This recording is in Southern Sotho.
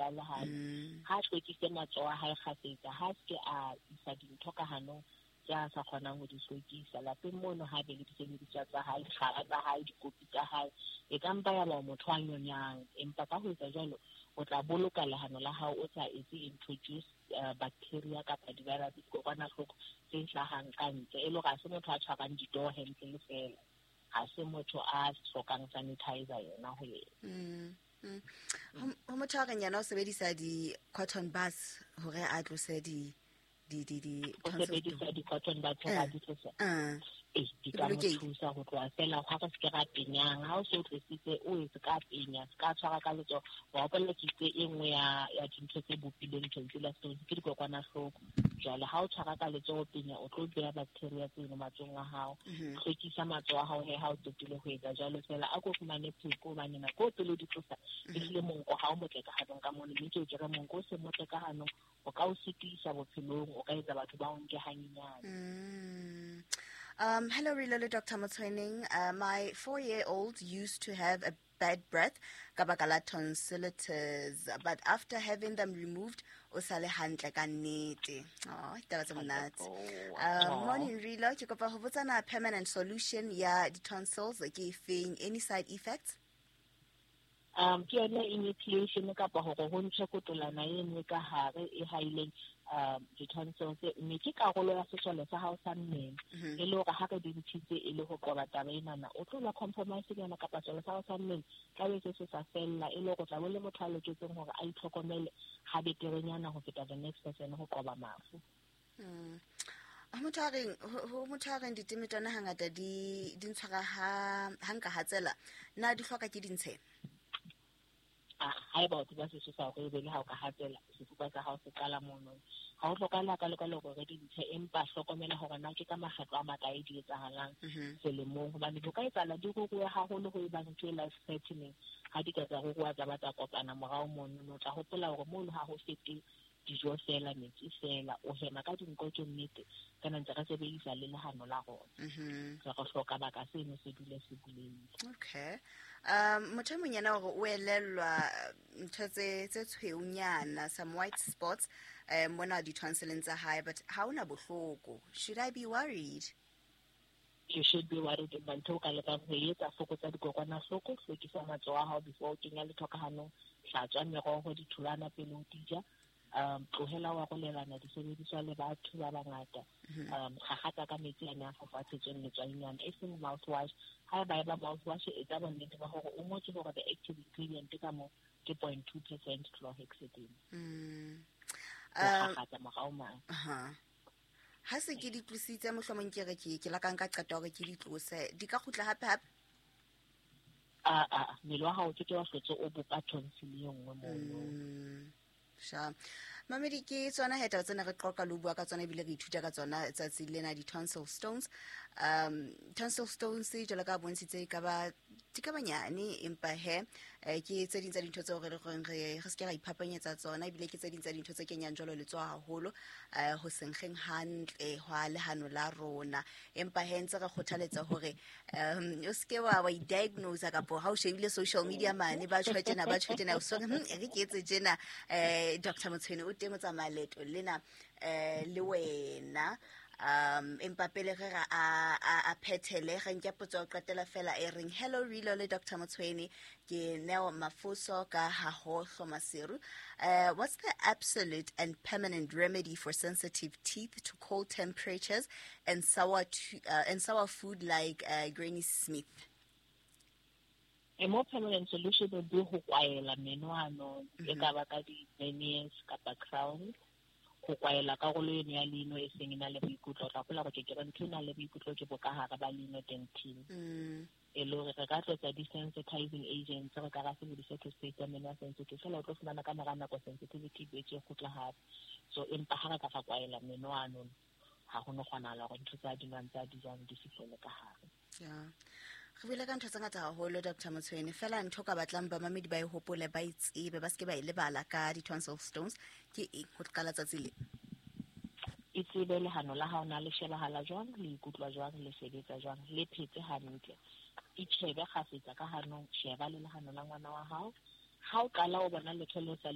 ya lehano. Ha hlwekise matsoho a hae kgafetsa, ha se ke a isa dintho ka hanong tse a sa kgonang ho di hlwekisa. Lapeng mono ha be le disebediswa tsa hae, dikgara tsa hae, dikopi tsa hae, e ka mpa ya ba motho a nyonyang, empa ka ho etsa jwalo o tla boloka lehano la hao o sa etse introduce bacteria kapa di-virus, dikokwanahloko tse hlahang ka ntle. E le hore ha se motho a tshwarang ditoo hantle le fela, ha se motho a hlokang sanitizer yona ho yena. Ho motho a reng yena o sebedisa di-cotton buds hore a tlose di O sebedisa di-cotton buds hore a di tlose, ee, di ka mo thusa ho tloha fela ha re se ke ra penyang. Ha o se o tlositse, o etse ka penya, se ka tshwara ka letsoho. Wa hopola ke itse e nngwe ya dintho tse bopileng tonsillar stones ke dikokwanahloko. Jwale ha o tshwara ka letsoho penya, o tlo beha bacteria tseno matsohong a hao. Hlwekisa matsoho a hao he ha o qetile ho etsa jwalo fela, a ko fumane pheko, hobane nako o pele o di tlosa, ehlile monko ha o motle ka hanong ka mono, mme ke ke re monko o se motle ka hanong o ka o sitisa bophelong, o ka etsa batho ba o nke hanyenyane. Hello, Rilo le Dr. Motsoeneng. My 4-year-old used to have a bad breath ka baka la tonsillitis, but after having them removed, o sa le hantle ka nnete. Oh, ditaba tse monate. Morning, Rilo. Ke kopa ho botsana permanent solution ya di-tonsils ke efeng? Any side effects? Ke yone enucleation kapa hore ho ntshwe kotolana e nngwe ka hare e haileng di-tonsils, mme ke karolo ya sesole sa hao sa mmele. E le hore ha re di ntshitse e le ho qoba taba enana, o tlo ba compromise nyana kapa sesole sa hao sa mmele tla be se se sa fella, e le hore o tla bo le motho a loketseng hore a itlhokomele ha beterenyana ho feta the next person ho qoba mafu. Ho motho a reng diteme tsona hangata di ntshwara ha nka hatsela, na di hloka ke dintshe? Haeba o tseba sesosa hore ebe le ha o ka hatsela, sefuba sa hao se qala mono, ha o hlokahale hakalo-kalo hore re di ntshe, empa hlokomela hore na ke ka makgetlo a makae di etsahalang selemong, hobane ho ka etsahala di ruruhe haholo ho e bang ntho e life threatening. Ha di ka tsa ruruha tsa ba tsa kopana morao mono, o tla hopola hore mono ha ho fete dijo fela, metsi fela, o hema ka dinko, ke nnete, kana ntse re sebedisa le lehano la rona. Re hloka baka seno se dule se bulehile. Okay. Motho e mong yena hore o elellwa ntho tse tshweunyana, some white spots, mona di-tonsileng tsa hae, but ha ona bohloko. Should I be worried? You should be worried. Empa ntho o ka lekang ho etsa, fokotsa dikokwanahloko, hlwekisa matsoho a hao before o kenya letho ka hanong, hlatswa meroho, ditholwana pele o di ja, tlohela wa arolelana disebediswa le batho ba bangata, kgakgatsa ka metsi a ne a fafatshetsweng letswainyana, e seng mouthwash. Haeba e ba mouthwash, etsa bonnete ba hore o ngotswe hore the active ingredient ka moo ke 0.2% chlorhexidine. Ho kgakgatsa morao mane. Ha se ke di tlositse, mohlomong ke re ke la ka nka qeto hore ke di tlose, di ka kgutla hape hape? Mmele wa hao ke ke wa hlotse o bopa tonsil e nngwe mono. Sha. Mamedi, ke tsona he taba tsena re qoqa le ho bua ka tsona, ebile re ithuta ka tsona tsatsi lena, di-tonsil stones. Tonsil stones jwalo ka bontshitse di ka ba nyane, empa he ke tse ding tsa dintho tseo re le goreng re se ke ra iphapanyetsa tsona, ebile ke tse ding tsa dintho tse kenyang jwalo letsoho haholo ho senkgeng hantle hwa lehano la rona. Empa he ntse re kgothaletsa hore o se ke wa i-diagnose kapo ha o shebile social media mane ba tjho tjena, ba tjho tjena, o so re, e re ke etse tjena. Dr. Motshweni o teng o tsamaya leeto lena le wena. Empa pele re ra a phethele, re nke potso ya ho qetela fela e reng, hello Rilo le Dr. Motshweni, ke Neo Mafoso ka Hahohlo Maseru. What's the absolute and permanent remedy for sensitive teeth to cold temperatures and sour and sour food like Granny Smith? A more permanent solution would be ho kwaela meno ano, e ka ba ka di-veneers kapa crowns, ho kwaela karolo eno ya leino e seng e na le boikutlo. O tla hopola hore ke re ntho e nang le boikutlo ke bokahare ba leino dentine. E le hore re ka tlotsa desensitizing agents, re ka ra sebedisa toothpaste ya meno a sensitive, fela o tlo fumana ka mora nako sensitivity e boetse e kgutla hape. So empa ha re ka ra kwaela meno ano, ha ho no kgonahala hore ntho tsa di nwang tsa di jang di fihlele ka hare. Yeah. Re buile ka ntho tse ngata haholo, Dr. Motshweni, fela ntho ka batlang bamamedi ba e hopole, ba e tsebe, ba seke ba e lebala ka di-tonsil stones ke eng ho qala tsatsi le? E tsebe lehano la hao na le shebahala jwang, le ikutlwa jwang, le sebetsa jwang, le phetse hantle. Itjhebe kgafetsa ka hanong, sheba le lehano la ngwana wa hao. Ha o qala o bona letho le sa le